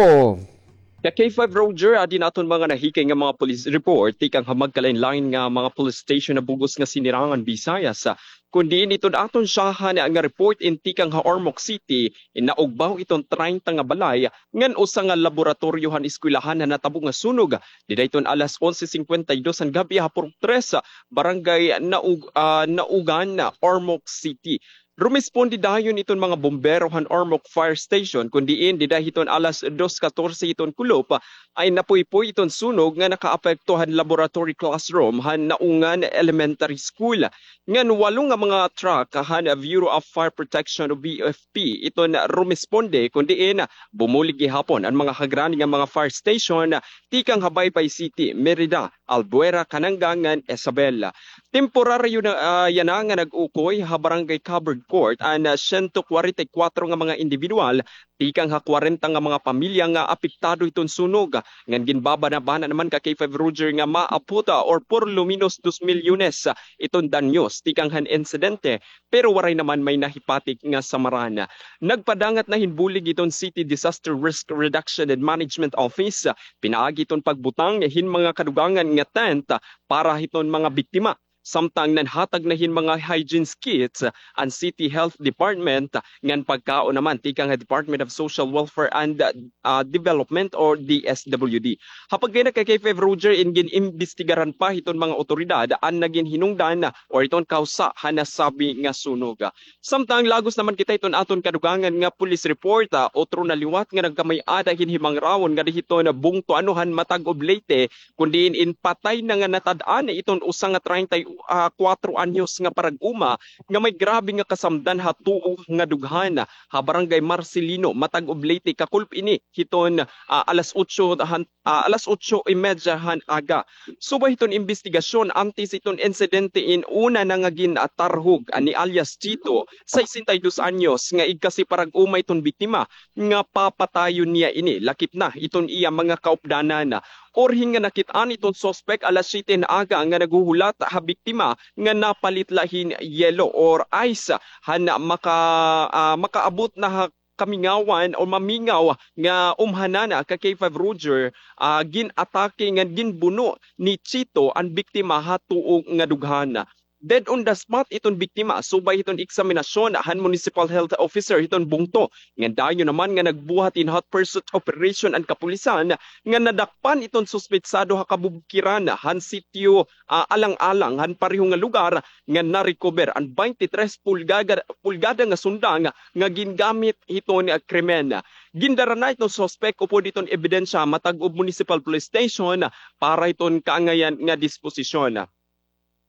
Ka-K five Roger, adi na aton mga nahikay nga mga police report, tikang ha magkalain-lain nga mga police station na bug-os nga sinirangan Visayas. Kun diin iton aton syahan nga report in tikang ha Ormoc City, in naugbaw iton treinta nga balay, ngan usa nga laboratoryo han eskwelahan han natabo nga sunog. Dida iton alas onse cincuenta y dos han gab-i ha Purok tres, Barangay Naug-, ah, Naugan, Ormoc City. Rumisponde dayon iton mga bombero han Ormoc Fire Station, kun diin dida hiton alas dos catorce hiton kulop, ay napuypoy iton sunog nga nakaapekto han laboratory classroom han Naungan Elementary School. Ngan walo nga mga truck han Bureau of Fire Protection o B F P iton rumisponde, kun diin bumulig gihapon an mga hagrani nga mga fire station tikang ha Baybay City, Merida, Albuera, Canangan, ngan Isabela. Temporaryo na, ah, yana nga nag-ukoy ha Barangay Covered Court an, ah, siyento kwarenta y kuwatro nga mga indibidwal tikang ha kwarenta nga mga pamilya nga apektado hiton sunog. Ngan ginbabanabana naman ka-K five Roger nga maabot, ah, or por lo menos dos milyones, ah, iton danyos tikang han insidente, pero waray naman may nahipatik nga samaran. Nagpadangat na hin bulig iton City Disaster Risk Reduction and Management Office, ah, pinaagi iton pagbutang hin mga kadugangan nga tent, ah, para hiton mga biktima. Samtang nanhatag na hin mga hygiene kits an City Health Department, ngan pagkaon naman tikang ha Department of Social Welfare and, ah, Development or D S W D. Ha pagkainak kay K five Roger, in gin-imbestigaran pa hiton mga awtoridad an nagin hinungdan or iton kawsa han nasabi nga sunog. Samtang lagos naman kita hiton aton kadugangan nga police report, ah, otro na liwat nga nagkamay-ada hin himangrawon ngadi hiton bungto ano han Matagob, Leyte, kun diin in patay na nga natad-an iton usa nga treinta y ah, kuwatro anyos nga parag-uma nga may grabe nga kasamdan ha tuo nga dughan ha Barangay Marcelino, matag Oblate, kakulop ini hiton, ah, alas otso han, ah, alas otso y media han aga. Subay hiton imbestigasyon, antes hiton insidente in una na nga gin-, ah, tarhog, ah, ni alias Chito, sesenta y dos anyos, nga igkasi parag-uma hiton biktima nga papatayon niya ini, lakip na hiton iya mga kaupdanan. Urhing nga nakit-an hiton suspek alas siyete han aga nga naghuhulat ha biktima nga napalit la hin yelo or ice han maka-, ah, makaabot na ha kamingawan o mamingaw nga umhanan ka K five Roger, ah, gin-atake ngan ginbuno ni Chito an biktima ha tuo nga dughan. Dead on the spot iton biktima, subay hiton eksaminasyon han Municipal Health Officer hiton bungto. Ngan dayon naman nga nagbuhat hin hot pursuit operation an kapulisan nga nadakpan iton suspetsado ha kabubkiran han sitio, ah, Alang-alang han pareho nga lugar nga na-recover an twenty-three pulgada, pulgada nga sundang nga gingamit hiton, ah, krimen. Gindara na iton suspek upod hiton ebidensya matag-ob Municipal Police Station para hiton kaangayan nga disposisyon.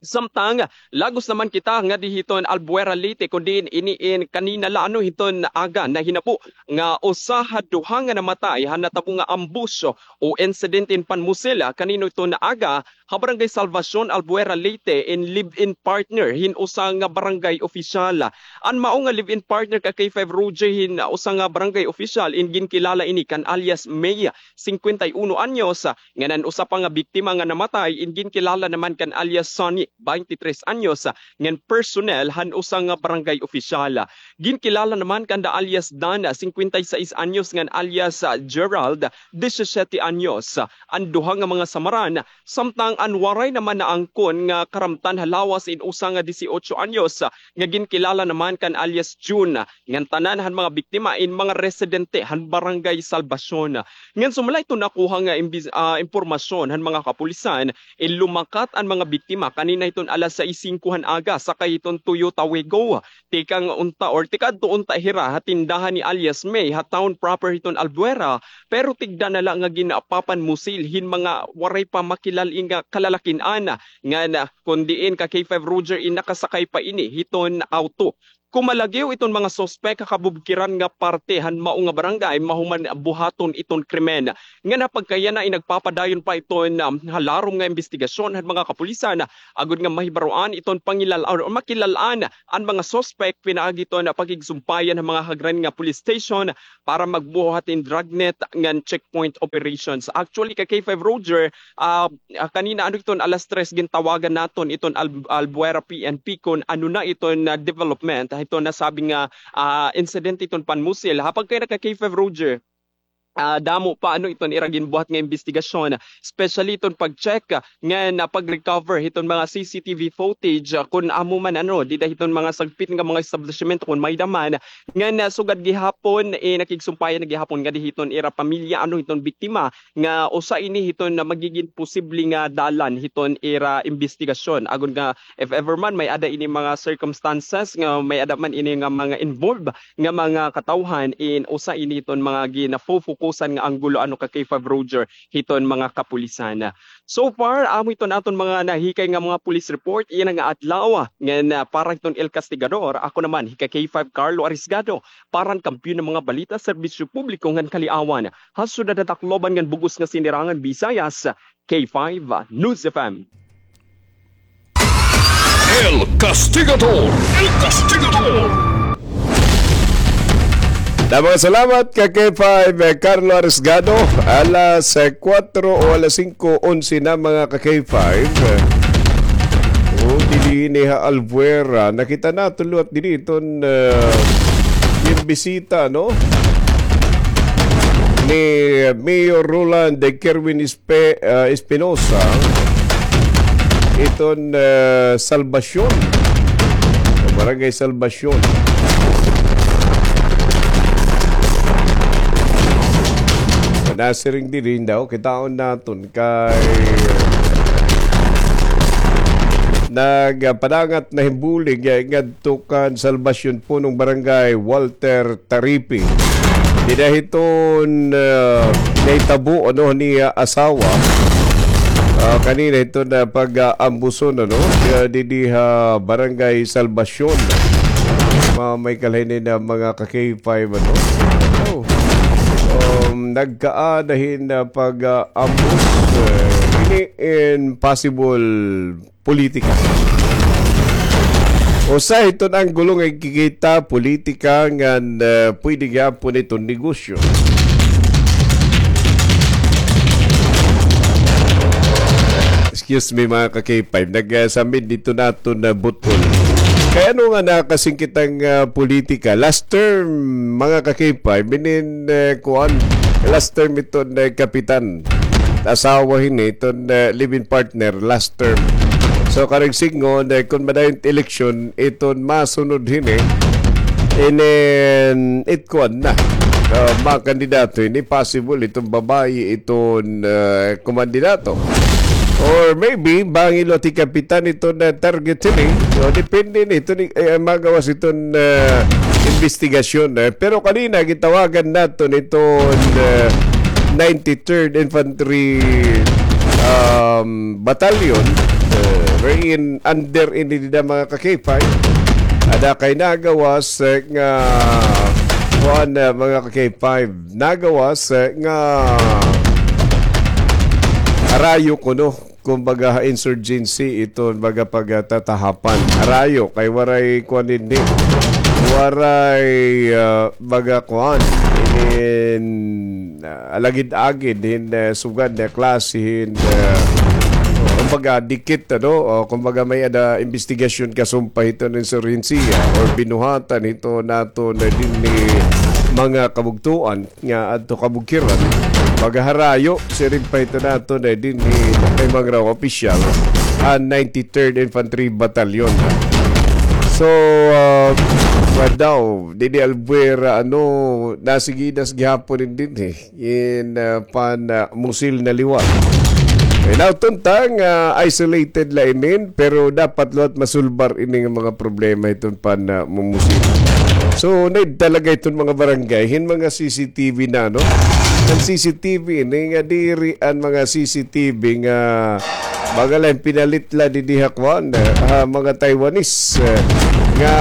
Samtang, lagos naman kita ngadi hiton Albuera, Leyte, kun diin ini in kanina la ano hiton aga nahinabo nga usa ha duha nga namatay han natabo nga ambush o insidente in panmusil, ah, kanina hiton aga ha Barangay Salvacion, Albuera, Leyte, in live-in partner hin usa nga barangay opisyal. An mao nga live-in partner ka K five Roger hin usa nga barangay opisyal in ginkilala ini kan alias May, singkwenta y uno anyos, ngan an usa pa nga biktima nga namatay in ginkilala naman kan alias Sonny, baynte tres anyos, ngan personnel han usa nga barangay opisyal. Ginkilala naman kanda alias Dan, singkwenta y sais anyos, ngan alias, ah, Gerald, disisiyete anyos, an duha nga mga samaran, samtang an waray naman naangkon nga karamtan ha lawas in usa nga disiotso anyos, nga ginkilala naman kan alias June, ngan tanan han mga biktima in mga residente han Barangay Salvacion. Ngan sumala hiton nakuha nga imbis-, ah, impormasyon han mga kapulisan, in lumakat an mga biktima kanina hiton alas sais singko han aga sakay hiton Toyota Wigo. Tikang unta or tikadto unta hira ha tindahan ni alias May ha town proper hiton Albuera, pero tigda na la nga ginapapanmusil hin mga waray pa makilal-in nga kalalakin-an, ngan kun diin ka K five Roger in nakasakay pa ini hiton auto. Kumalagiw iton mga suspek ha kabubkiran nga parte han mao nga barangay mahuman buhaton iton krimen. Ngan ha pagkayana in nagpapadayon pa iton, um, ha larom nga imbestigasyon han mga kapulisan, agod nga mahibaroan iton pangilal-an o makilal-an an mga suspek pinaagi iton pakigsumpayan han mga hagran nga police station para magbuhat hin dragnet ngan checkpoint operations. Actually, ka K five Roger, ah, ah, kanina ano iton alas tres gintawagan naton iton Al-, Albuera P N P kun ano na iton, ah, development, ah, iton nasabi nga, ah, insidente iton panmusil. Ha pagkayana ka K five Roger, ah, damo pa ano iton ira ginbuhat nga imbestigasyon, especially iton pag-check, ah, ngan, ah, pag-recover hiton mga C C T V footage, ah, kun amo man ano, dida hiton mga sagpit nga mga establishment kun may-ada man. Ngan, ah, sugad gihapon, eh, nakigsumpayan na gihapon ngadi hiton ira pamilya ano hiton biktima nga usa ini hiton nga magigin posible nga dalan hiton ira imbestigasyon. Agod nga if ever man may-ada ini mga circumstances nga may-ada man ini nga mga involved nga mga katawhan in usa ini hiton mga ginafofokusan nga anggulo ano ka K five Roger hiton mga kapulisan. So far, amo iton aton mga nahikay nga mga police report yana nga adlaw. Ngan, ah, para hiton El Castigador, ako naman hi ka K five Carlo Arisgado, para han Kampiyon nga mga Balita, Serbisyo Publiko ngan Kaliawan, ha syudad han Tacloban ngan bug-os nga Sinirangan Visayas, K five News F M. El Castigador. El Castigador. Damo nga salamat ka K five, eh, Carlo Arisgado. Alas, eh, kuwatro o alas singko onse na, mga ka K five. O, didi ini ha Albuera. Nakita naton liwat didi iton, eh, ginbisita, no, ni Mayor Roland Kerwin Pe-, ah, Espinosa, iton, ah, Salvacion, Barangay Salvacion. Nasiring diri daw, kitaon naton kay nagpadangat na hin bulig, ah, ngadto kan Salvacion, punong barangay, Walter Taripi. Dida hiton, ah, nahitabo, ano, ni, ah, asawa. Ah, kanina ito na pag-aambuson, ano? Ah, didi ha Barangay Salvacion. Ma-, may kalahinin na mga ka-K five, ano? Oh. Um, nagkaadahin na pag-aambus. Ah, ini in possible politika. Usa hiton anggulo nga ikikita, politika, ngan, ah, pwede gihapon iton negosyo. Excuse me, mga ka-K five. Nag, ah, samid dito naton na butol. Kay ano nga nakasingkit ang, ah, politika? Last term, mga ka-K five, inin, ah, kuan, last term iton, ah, kapitan. Asawa hini, iton, ah, live-in partner, last term. So, karuyag sidngon, ah, kung madayon eleksyon, iton masunod hini, inin, it kuan na. Ah, mga kandidato hini, possible, iton babayi, iton, ah, kumandidato. Or maybe, bangin liwat hi kapitan iton, ah, target hini. So, depende ni, iton, eh, magawas iton, ah, investigasyon, eh. Pero kanina, gitawagan naton iton, ah, ninety-third Infantry, um, Battalion, ah, wherein under ini dida mga ka-K five. Ada kay nagawas, eh, nga, kuan, ah, mga ka-K five. Nagawas, eh, nga harayo kuno, kumbaga, insurgency iton baga pagtatahapan. Harayo, kay waray kuan dinhi. Waray, ah, baga kuan. Inin, ah, alagid-agid hin, ah, sugad na klase hin, ah, kumbaga, dikit, ano, o kumbaga, may-ada investigasyon kasumpay hiton insurhensiya or binuhatan hiton naton dinhi mga kabugtoan nga adto kabugkiran, magharayo, siring pa ito naton, eh, dinhi kay mga opisyal, an ninety-third Infantry Battalion. So, ah, kuan daw, didi Albuera, ano, nasigidas gihapon in dinhi, eh, in, ah, pan, ah, musil na liwat. Eh, now, tuntang, ah, isolated la inin, pero dapat liwat masulbar ini nga mga problema iton pan, ah, mumusil. So, need talaga iton mga barangay hin mga C C T V na, no? An C C T V ini nga diri an mga C C T V nga mga lain pinalit la didi ha kuan, eh, ha mga Taiwanese, eh, nga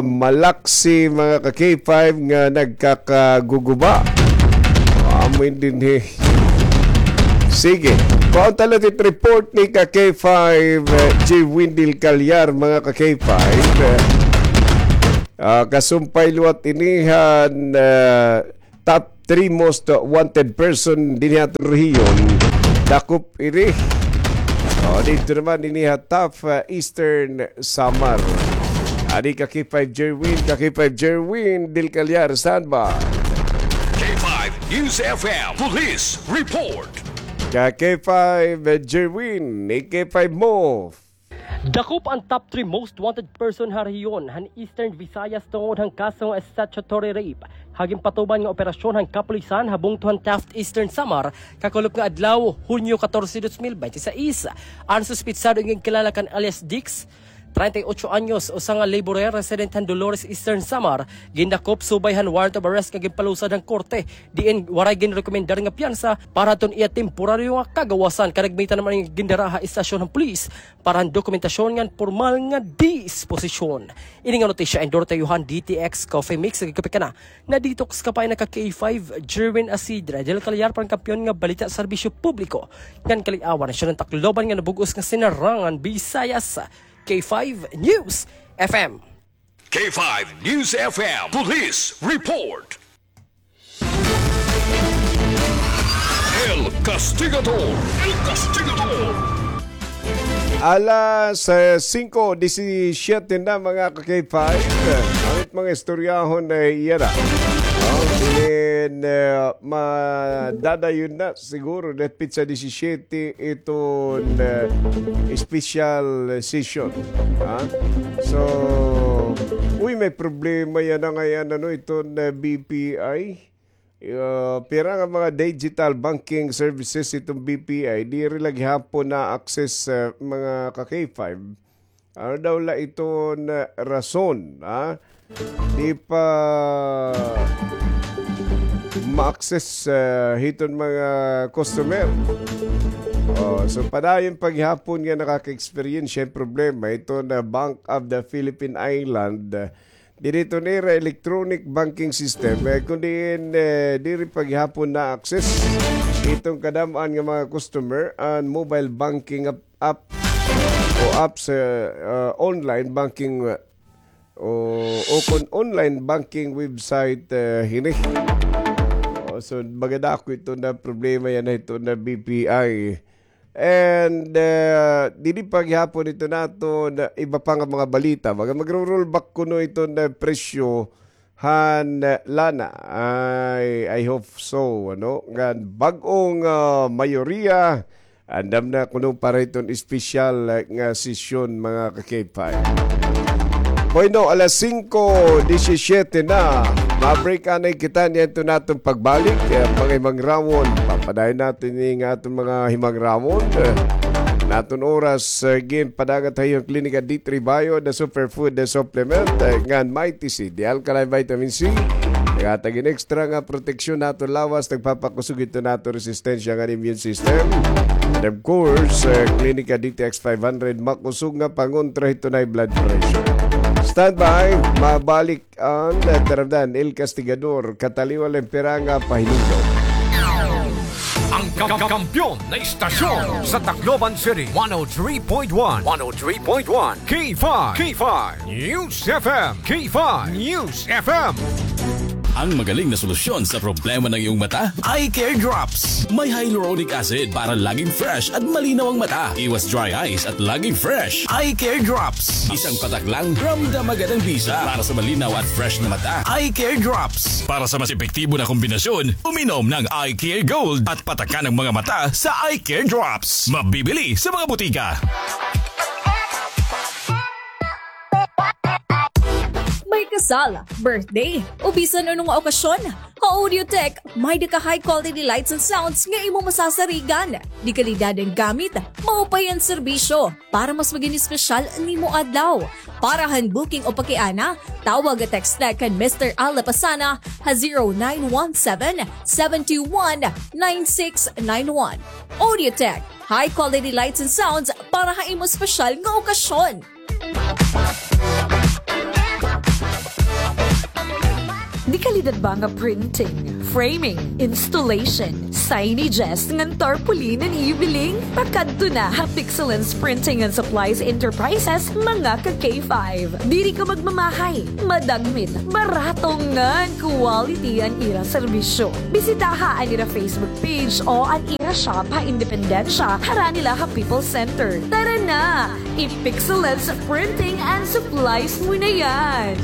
malaksi mga ka-K five nga nagkakaguguba. Amo in dinhi. Sige. Kuan ta la it report ni ka-K five, eh, J Windel Calyar, mga ka-K five. Eh, ah, kasumpay liwat ini han, eh, top three most wanted person dinhi ha aton rehiyon. Dakop ini. O, didto naman ini ha top, eh, Eastern Samar. Adi ka-K five Jerwin, ka-K five Jerwin Del Calyar, standby. K five News F M Police Report. Ka-K five Jerwin, ni K five mo. Dakop an top three most wanted person ha rehiyon han Eastern Visayas tungod han kaso nga statutory rape ha ginpatuman nga operasyon han kapulisan ha bungto han Taft, Eastern Samar, kakulop nga adlaw, Hunyo katorse, dos mil bente seis. An suspetsado nga ginkilala kan alias Dix, treinta y ocho anyos, usa nga laborer resident han Dolores, Eastern Samar, gindakop subay han warrant of arrest nga ginpalusad han korte, diin waray ginrekomendar nga piyansa para hadton iya temporaryo nga kagawasan. Kadagmitan naman an gindara ha estasyon han pulis para han dokumentasyon ngan pormal nga disposisyon. Ini nga notisya endorse ha iyo han D T X Coffee Mix, nagkakape ka na. Na-detox ka pa, ini ka K five, Jerwin Asidre, Del Calyar, para han Kampiyon nga Balita, Serbisyo Publiko ngan Kaliawan, nasyon han Tacloban ngan nabug-os nga Sinarangan, Visayas. K five News F M. K five News F M Police Report. El Castigador. El Castigador. Alas, eh, singko disisiyete na, mga ka-K five. An mga istoryahon ay yana. Oh, inin, eh, madadayon na siguro, dahil petsa disisiyete iton, eh, special session. Ha? So, uy, may problema yana ngay-an, ano, iton, eh, B P I. Ah, pira nga mga digital banking services iton B P I, diri la gihapon na-access, eh, mga ka-K five. Ano daw la iton rason, ha? Di pa, ma-access, ah, hiton mga customer. Oh, so padayon pa gihapon nga nakaka-experience siya problema iton Bank of the Philippine Island, ah, diri iton ira electronic banking system, eh, kun diin, eh, diri pa gihapon na-access iton kadam-an nga mga customer an mobile banking app, app o apps, eh, ah, online banking, ah, o, o kon online banking website, eh, hini. O, so, baga dako ito na problema yana ito na B P I. And, eh, didi pa gihapon ito naton iba pa nga mga balita. Baga magro-rollback kuno ito na presyo han, eh, lana. I, I hope so, ano? Ngan bag-ong, ah, mayoriya andam na kuno para iton espesyal, eh, nga sesyon, mga ka-K five. Bueno, alas singko disisiete na. Ma-break anay kita niyan to naton pagbalik. Eh, mga himangrawon. Papadayon naton ini nga aton mga himangrawon. Eh, naton oras, eh, ginpadagat ha iyo an Klinika D three Bio, the superfood, the supplement, eh, ngan Mighty C, the alkaline vitamin C. Naghatag hin extra nga proteksyon naton lawas, nagpapakusog ito naton resistensya ngan immune system. And of course, eh, Klinika D T X five hundred, makusog nga pangontra hiton high blood pressure. Standby, mabalik an, eh, taramdan, El Castigador, kataliwan la pira nga pahinumdom. Ang ka-, kampiyon na istasyon sa Tacloban City, one oh three point one, one oh three point one, K five, K five News F M, K five News F M. Ang magaling na solusyon sa problema ng iyong mata, Eye Care Drops. May hyaluronic acid para laging fresh at malinaw ang mata. Iwas dry eyes at laging fresh. Eye Care Drops. Isang patak lang, ramdam agad ang bisa. Para sa malinaw at fresh na mata, Eye Care Drops. Para sa mas epektibo na kombinasyon, uminom ng Eye Care Gold at patakan ang mga mata sa Eye Care Drops. Mabibili sa mga butika. May kasal, birthday, o bisan ano nga okasyon, ha Audiotech, may-ada ka high quality lights and sounds nga imo masasarigan. De kalidad an gamit, maupay an serbisyo. Para mas magin espesyal an imo adlaw. Para han booking o pakiana, tawag o text la kan Mister Al Lapasana ha zero nine one seven, seven two one, nine six nine one. Audiotech, high quality lights and sounds para ha imo espesyal nga okasyon. De kalidad ba nga printing, framing, installation, signages, ngan tarpaulin an iyo biling? Pakadto na ha Pixelance Printing and Supplies Enterprises, mga ka-K five. Diri ka magmamahay, madagmit, barato ngan quality an ira serbisyo. Bisitaha an ira Facebook page o an ira shop ha Independencia, harani la ha People's Center. Tara na! I-Pixelance Printing and Supplies mo na yan!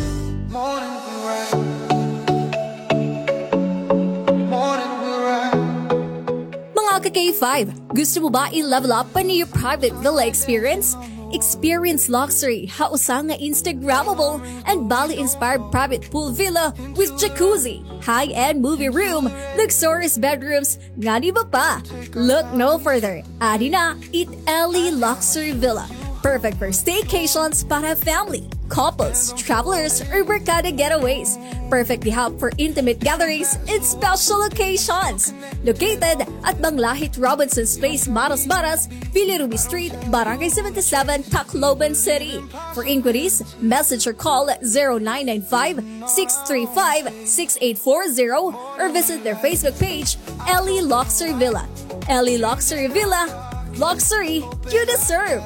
Mga ka-K five, gusto mo ba i-level up an iyo private villa experience? Experience luxury ha usa nga Instagrammable and Bali-inspired private pool villa with jacuzzi, high-end movie room, luxurious bedrooms, ngan iba pa. Look no further. Adi na it Ellie Luxury Villa. Perfect for staycations para family, couples, travelers, or barkada getaways. Perfect di hub for intimate gatherings and special occasions. Located at Banglahit Robinson's Place, Maras Baras, Villa Ruby Street, Barangay seventy-seven, Tacloban City. For inquiries, message or call zero nine nine five, six three five, six eight four zero or visit their Facebook page, Ellie Luxury Villa. Ellie Luxury Villa, luxury you deserve.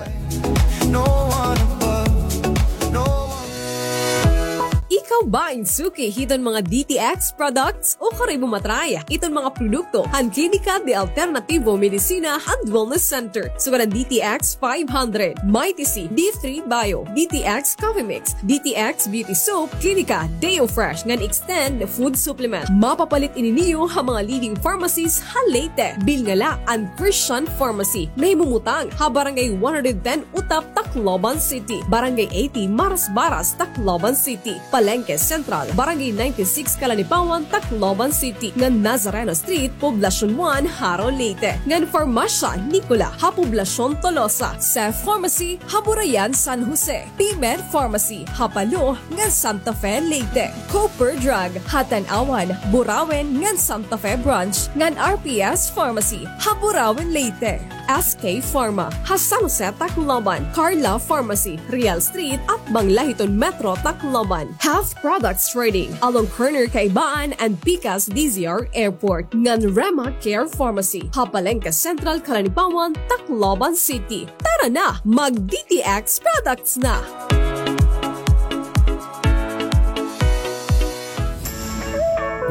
Ikaw ba in suki hiton mga D T X products o kari mo matry iton mga produkto han Klinika de Alternativo Medicina and Wellness Center? Sugad an D T X five hundred, Mighty C, D three Bio, D T X Coffee Mix, D T X Beauty Soap, Klinika Deo Fresh ngan Extend Food Supplement. Mapapalit ini niyo ha mga leading pharmacies ha Leyte. Bilnga la an Christian Pharmacy. Nahimumutang ha Barangay one hundred ten Utap, Tacloban City, Barangay eighty Maras Baras, Tacloban City, Palengke Palengke Central, Barangay ninety-six, Calanipawan, Tacloban City, ngan Nazareno Street, Poblacion one, Jaro, Leyte, ngan Farmacia Nicola ha Poblacion Tolosa, Cef Pharmacy ha Burayan, San Jose, P-Med Pharmacy ha Palo ngan Santa Fe, Leyte, Cooper Drug ha Tanauan, Burauen ngan Santa Fe Branch, ngan R P S Pharmacy ha Burauen, Leyte, S K Pharma ha San Jose, Tacloban, Carla Pharmacy, Real Street, atbang la hiton Metro Tacloban. Half Products Trading, along corner Kaibaan and Pikas D Z R Airport, ngan Rema Care Pharmacy ha Palengke Central, Calanipawan, Tacloban City. Tara na, mag D T X products na!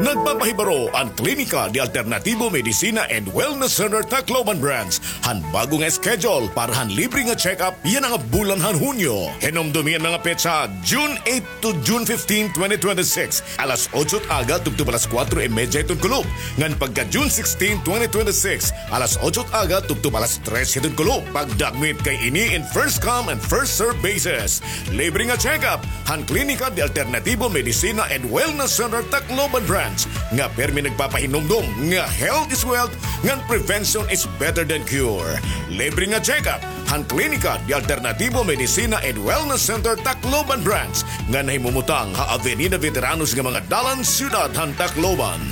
Nagpapahibaro an Klinika de Alternatibo Medicina and Wellness Center Tacloban Branch han bag-o nga schedule para han libre nga check-up yana nga bulan han Hunyo. Hinumdomi an mga petsa, June eight to June fifteen, twenty twenty-six, alas otso it aga tubtob alas kuwatro y medya hiton kulop, ngan pagka June sixteen, twenty twenty-six, alas otso it aga tubtob alas tres hiton kulop. Pagdakmit kay ini in first come and first serve basis. Libre nga check-up han Klinika de Alternatibo Medicina and Wellness Center Tacloban Branch nga pirmi nagpapahinumdom nga health is wealth ngan prevention is better than cure. Libre nga check-up han Klinika de Alternatibo Medicina and Wellness Center Tacloban Branch nga nahimumutang ha Avenida Veteranos nga mga dalan, siyudad han Tacloban.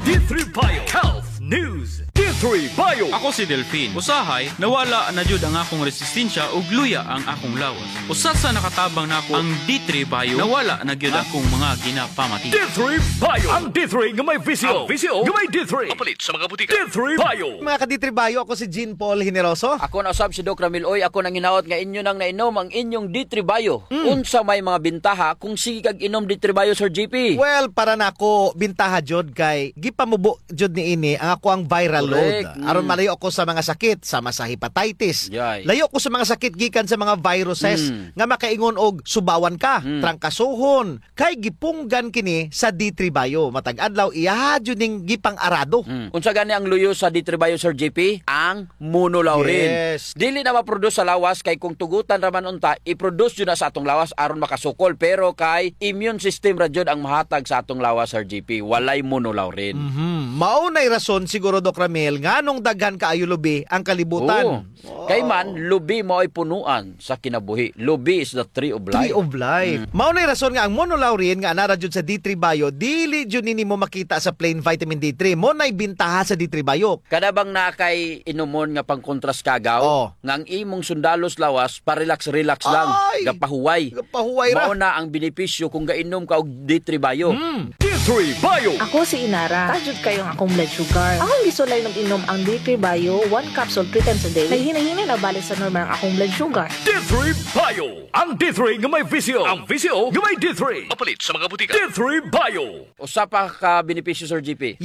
D three Bio Health News. D three Bio. Ako si Delfin. Usahay, nawala na jud ang akong resistensya ug luya ang akong lawas. Usa sa nakatabang nako ang D three Bio, nawala na gyud akong mga ginapamati. D three Bio. Ang D three nga may visyo. Ang visyo nga may D three. Mapalit sa mga butika. D three Bio. Mga ka-D three Bio, ako si Jean Paul Generoso. Ako na usab si Doc Ramil Uy. Ako nanghinaot nga inyo nang nainom ang inyong D three Bio. Mm. Unsa may mga bintaha kung sige kag inom D three Bio, Sir G P? Well, para nako, bintaha jud kay gipamubo jud niini ang akoang viral load. Correct. Mm. Aron malayo ako sa mga sakit, sama sa hepatitis. Yay. Layo ko sa mga sakit gikan sa mga viruses, mm, nga makaingon og subawan ka, mm, trangkasohon, kay gipunggan kini sa D three Bio. Matag adlaw, iya jud ning gipang-arado. Mm. Unsa gani ang luyo sa D three Bio, Sir G P? Ang monolaurin. Yes. Dili na ma-produce sa lawas kay kung tugutan ra man unta, i-produce jud na sa atong lawas aron makasukol. Pero kay immune system ra jud ang mahatag sa atong lawas, Sir G P. Walay monolaurin. Mhm. Mao nay rason siguro, Doc Ramil, nganong daghan kaayo lubi ang kalibutan. Oo. Wow. Kay man, lubi mao'y punuan sa kinabuhi. Lubi is the tree of life. Tree of life. Mm. Mao nay rason nga ang monolaurin nga anaa ra jud sa D three Bio, dili jud nini mo makita sa plain vitamin D three. Mao nay bintaha sa D three Bio. Kada bang naa kay inumon nga pangkontras kagaw, oh, nga ang imong sundalo sa lawas, pa-relax-relax lang, ay, gapahuway. Gapahuway ra. Mao na ang benepisyo kung gainom ka og D three Bio. Mm. D three Bio. Ako si Inara. Taas jud kaayo ang akong blood sugar. Akong gisulay nag-inom ang D three Bio, one capsule three times a day. Naghinay-hinay na balik sa normal ang akong blood sugar. D three Bio. Ang D three nga may visyo. Ang visyo nga may D three. Mapalit sa mga butika. D three Bio. Usa pa ka benepisyo, Sir G P.